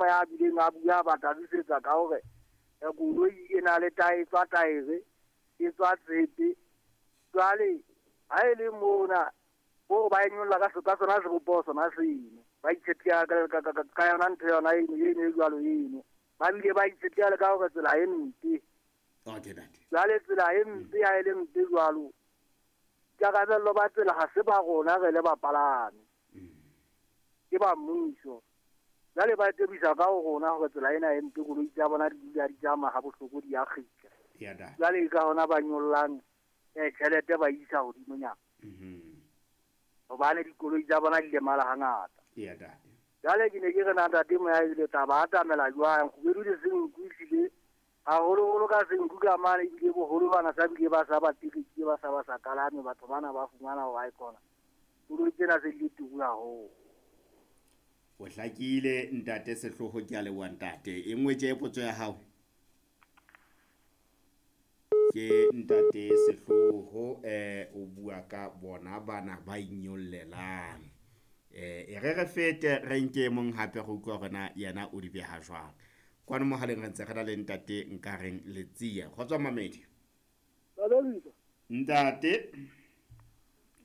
Moya a bileng a bua ba hlalosetsa ka hore koloi e na le tae tswa taere e tswa tshepe. Jwale ha e le mona bo ba e nyolla ka ka sona sebopeho sona seno. Ba itshetleha ka yona ntho yona eno eno e jwalo eno. Ba bile ba itshetleha le ka hore tsela e mpe. Okay ntate. Jwale tsela e mpe ha e le mpe jwalo, boikarabello ba tsela ha se ba rona re le bapalami. Ke ba mmuso. Jwale ba tebisa ka ho rona hore tsela ena e mpe, koloi tsa bona di dula di tsamaya ha bohloko di a kgitla. Ya ntate. Jwale ka hona ba nyollang tjhelete ba isa hodimonyana. Hobane dikoloi tsa bona di lemala hangata. Ya ntate. Jwale ke ne ke re na ntate Moya ebile taba atamela jwang, kgubedu le senku ehlile haholoholo ka senku ka mane ebile boholo bana sa bile ba sa ba tekete ba sa ba sa kalame batho bana ba fumana hore ha e kona. Koloi tsena se di le turu haholo. O hlakile ntate Sehloho, ke a leboha ntate. E nngwe tje potso ya hao. Ke ntate Sehloho o bua ka bona bana ba inyollelang. E re re fete re nke mong hape go utlwa hore na yena o di beha jwang. Kwano mohaleng re ntse re na le ntate Nkareng Letsia. Kgotso Mamedi. Ntate.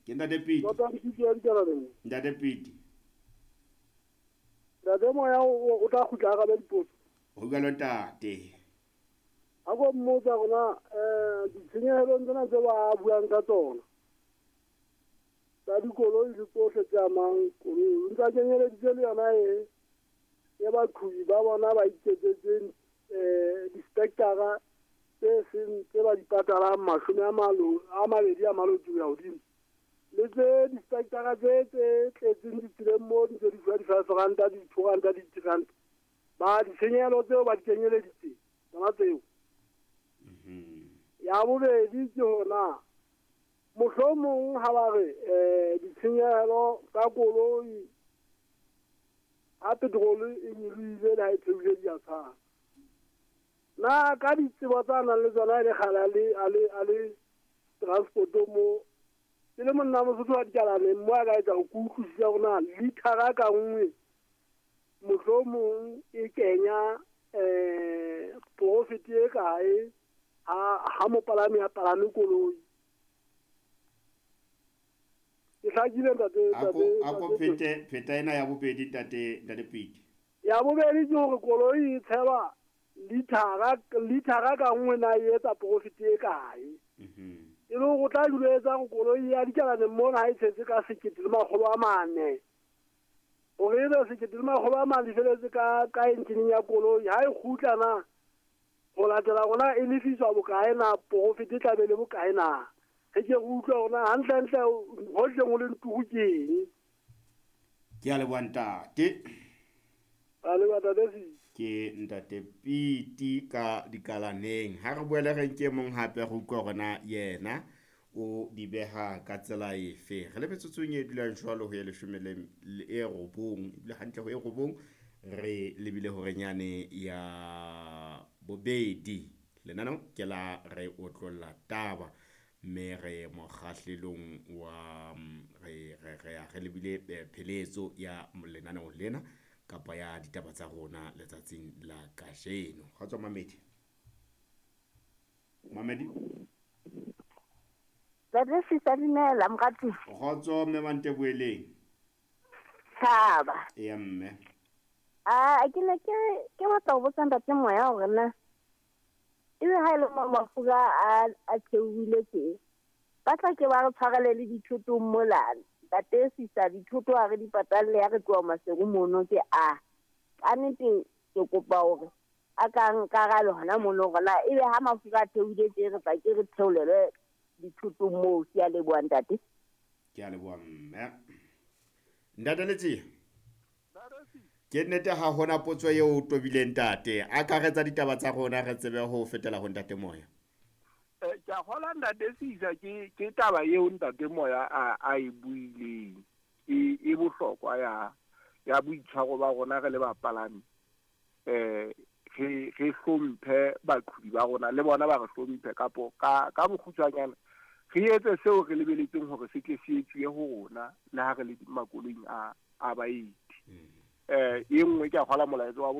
Ke ntate Piti. Ntate Piti. Ntate Moya o tla kgutla a arabe dipotso. Ho jwalo ntate. Ha ko mmotsa rona ditshenyehelong tsena tse ba buang ka tsona tsa dikoloi le tsohle tse amang koloi, o ntse a kenyeleditse le yona e baqhobi ba bona ba iketsetseng di-spectra tse seng tse ba di patalang 20 a maloti ho ya hodimo, le tse di-spectra tse tletseng ditseleng moo di ntse di fuwa di-5 ranta, di-2 ranta, di-3 ranta, ba ditshenyehelo tseo ba di kenyeleditse tsona tseo. Ya bobedi ke hona mohlomong ha ba re ditshenyehelo tsa koloi ha petrol e nyolohile le ha e theohile di a tshwana. Na ka ditsebo tsa nang le tsona e le kgale a le transporto mo, ke le monna Mosotho wa dikalaneng mo a ka etsa ho ke utlwisisa hore na lithara ka nngwe mohlomong e kenya profit e kae ha mopalami a palame koloi. Ke hlakile ntate, Ako phete pheta ena ya bobedi ntate Piti. Ya bobedi ke hore koloi e tshelwa lithara ka nngwe na e etsa profit e kae. E le hore o tla dula etsa hore koloi ya dikalaneng mona ha e tshetse ka 1400, hore ebe 1400 di feletse ka enjeneng ya koloi, ha e kgutla na ho latela rona e lefiswa bokae na, profit e tla be le bokae na. Re ke re utlwe hore na hantlentle hohle ho le ntuku ke eng. Ke a leboha ntate. A leboha ntate Sisi. Ke ntate Piti ka dikalaneng. Ha re boele re nke mong hape re utlwe hore na yena o di beha ka tsela efe. Re le metsotsong e dulang jwalo ho ya 19, ebile hantle ho e 9 re lebile hore nyane ya bobedi. Lenaneo ke la re otlolla taba mme re mokgahlelong wa re lebile pheletso ya lenaneo lena kapa ya ditaba tsa rona letsatsing la kajeno. Kgotso Mamedi. Mamedi. Ntate Sisa, dumela morati. Kgotso mme Manteboeleng. Tshaba. Eya mme. Ke ne ke batla ho botsa ntate Moya hore na ebe ha e le mafura a theohile tje, ba tla ke ba re tshwarele le dithoto mola. Ntate Sisa, dithoto ha re di patalle ha re tloha Maseru mono ke a. Ka nnete ke kopa hore a ka nkarale hona mono hore na ebe ha mafura a theohile tje re tla ke re theolelwe dithoto moo. Ke a leboha ntate. Ke a leboha mme. Ntate Letsie. Ke nnete ha hona potso eo o tobileng ntate. Akaretsa ditaba tsa rona re tsebe ho fetela ho ntate Moya. Ke a kgolwa ntate Sisa ke taba eo ntate Moya a e buileng e bohlokwa ya boitshwaro ba rona re le bapalami. Re hlomphe baqhobi ba rona le bona ba re hlomphe kapo ka bokgutshwanyane re etse seo re lebeletseng hore se tle se etsuwe ho rona le ha re le makoloing a baeti. E nngwe ke a kgolwa molaetsa wa bohlokwa.